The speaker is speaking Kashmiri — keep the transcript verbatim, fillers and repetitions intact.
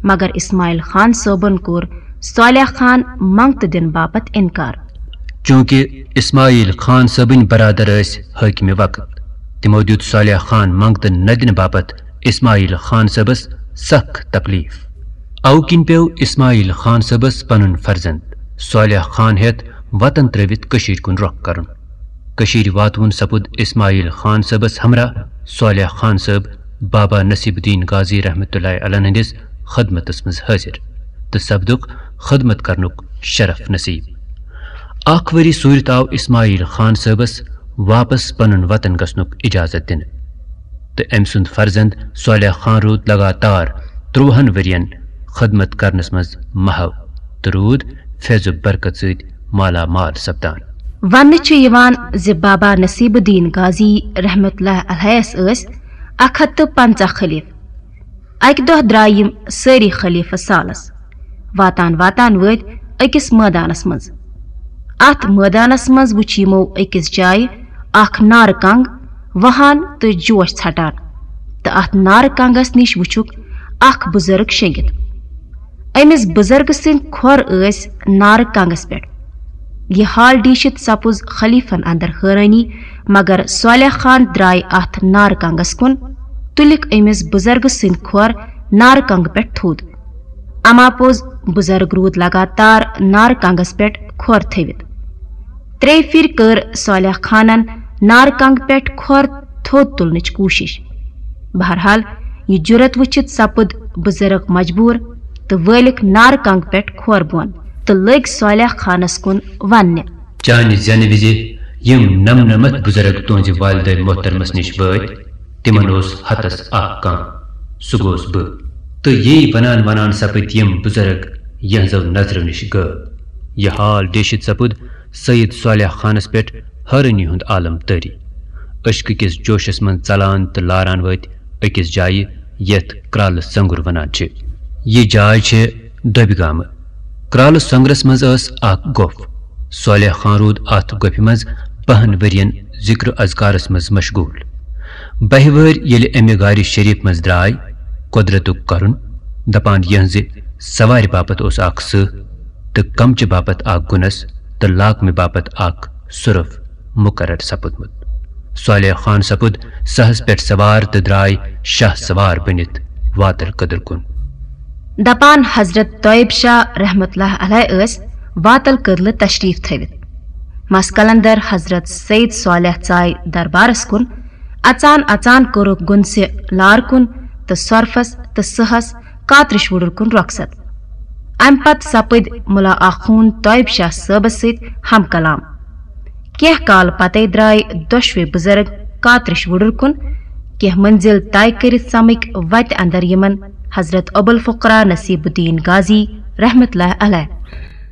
مگر اسماعیل خان صٲبن کوٚر صالح خان منٛگتہٕ دِنہٕ باپتھ انکار۔ چونکہ اسماعیل خان صٲبٕنۍ برادر ٲسۍ حٲکمِ وقت، تِمو دیُت صالح خان منٛگتہٕ نہ دِنہٕ باپتھ اسماعیل خان صٲبس سخ تکلیف۔ اوٕ کِنۍ پیوٚو اسماعیل خان صٲبس پنُن فرزند صالح خان ہٮ۪تھ وطن ترٲوِتھ کٔشیٖرِ کُن رۄخ کرُن۔ کٔشیٖرِ واتوُن سپُد اسماعیل خان صٲبس ہمراہ صالح خان صٲب بابا نصیب الدین غازی رحمتہ اللہ علیہ ہٕنٛدِس خدمتس منٛز حٲضِر تہٕ سپدُکھ خدمت کرنُک شرف نصیب۔ اکھ ؤری سوٗرِتھ آو اسماعیل خان صٲبس واپس پنُن وطن گژھنُک اجازت دِنہٕ، تہٕ أمۍ سُنٛد فرزند صالح خان روٗد لگاتار ترٛوہن ؤرین خدمت کرنس منٛز محو تہٕ روٗد فیض و برکت سۭتۍ مالا مال سپدان۔ وننہٕ چھُ یِوان زِ بابا نصیب الدین غازی رحمتہ اللہ علیہس ٲسۍ اکھ ہتھ تہٕ پنژاہ خلیفہٕ۔ اکہِ دۄہ درٛاے یِم سٲری خلیفہٕ سالس۔ واتان واتان وٲتۍ أکِس مٲدانس منٛز۔ اتھ مٲدانس منٛز وُچھ یِمو أکِس جایہِ اکھ نارٕ کنگ وہان تہٕ جوش ژھٹان، تہٕ اتھ نارٕ کنگس نِش وُچھُکھ اکھ بُزرگ شیٚنگِتھ۔ أمِس بُزرگہٕ سٕنٛدۍ کھۄر ٲسۍ نارٕ کنگس پٮ۪ٹھ۔ یہِ حال ڈیٖشِتھ سپُز خلیفن اندر حٲرٲنی، مگر صالح خان درٛاے اتھ نارٕ کنگس کُن، تُلِکھ أمِس بُزرگہٕ سٕنٛدۍ کھۄر نارٕ کنگہٕ پٮ۪ٹھ تھوٚد۔ اما پوٚز، بُزرگ روٗد لگاتار نارٕ کنگس پٮ۪ٹھ کھۄر تھٲوِتھ۔ ترٛیٚیہِ پھِرِ کٔر صالح خانن نارٕ کنگہٕ پٮ۪ٹھ کھۄر تھوٚد تُلنٕچ کوٗشِش۔ بہرحال، یہِ جُرت وٕچھِتھ سپُد بُزرگ مجبوٗر تہٕ وٲلِکھ نارٕ کنگہٕ پٮ۪ٹھ کھۄر بۄن تہٕ لٔگۍ صالح خانس کُن وننہِ۔ چانہِ زٮ۪نہٕ وِزِ یِم نمنمتھ بُزرگ تُہنزِ والدہ محترمس نِش وٲتۍ، تِمن اوس ہتس اکھ کانہہ، سُہ گوس بہٕ۔ تہٕ یی ونان ونان سپٕدۍ یِم بُزرگ یہنزو نظرو نِش غٲب۔ یہِ حال ڈیشِتھ سپُد سید صالح خانس پٮ۪ٹھ حٲرٲنی ہُند عالم طٲری۔ عشقہٕ کِس جوشس منز ژلان تہٕ لاران وٲتۍ أکِس جایہِ، یتھ کرالہٕ سنگُر ونان چھِ۔ یہِ جاے چھِ دۄبہِ گامہٕ۔ کرالہٕ سنگرس منز ٲس اکھ گۄپھ۔ صالح خان روٗد اتھ گۄپھِ منز بہن ؤرین ذکر و اذکارس منز مشغول۔ بہہِ وٲرۍ ییلہِ امہِ غارِ شریف منز درٛاے، قۄدرتُک کرُن، دپان یہنزِ سوارِ باپتھ اوس اکھ سٕہہ تہٕ کمچہِ باپتھ اکھ گُنس تہٕ لاکمہِ باپتھ اکھ سُرف مقرر سپُدمُت۔ صالح خان سپُد سہس پٮ۪ٹھ سوار تہٕ درٛاے شاہ سوار بٔنِتھ واتل کدٕر کُن۔ دپان حضرت طیب شاہ رحمتہ اللہ علیہ ٲسۍ واتل کدلہٕ تشریف تھٲوِتھ۔ مس قلندر حضرت سید صالح ژاے دربارس کُن۔ اژان اژان کوٚرُکھ گُنسہِ لار کُن تہٕ سۄرفس تہٕ سٕہس کاترِش وُڈُر کُن رۄخصت۔ امہِ پتہٕ سپٕدۍ ملا آخوند طیب شاہ صٲبس سۭتۍ ہم کلام۔ کینٛہہ کال پتے درٛاے دۄشوے بُزرگ کاترِش وُڈُر کُن۔ کینٛہہ منزل طے کٔرِتھ سمٕکۍ وتہِ اندر یِمن حضرت ابوالفقرا نصیب الدین غازی رحمتہ اللہ علیہ۔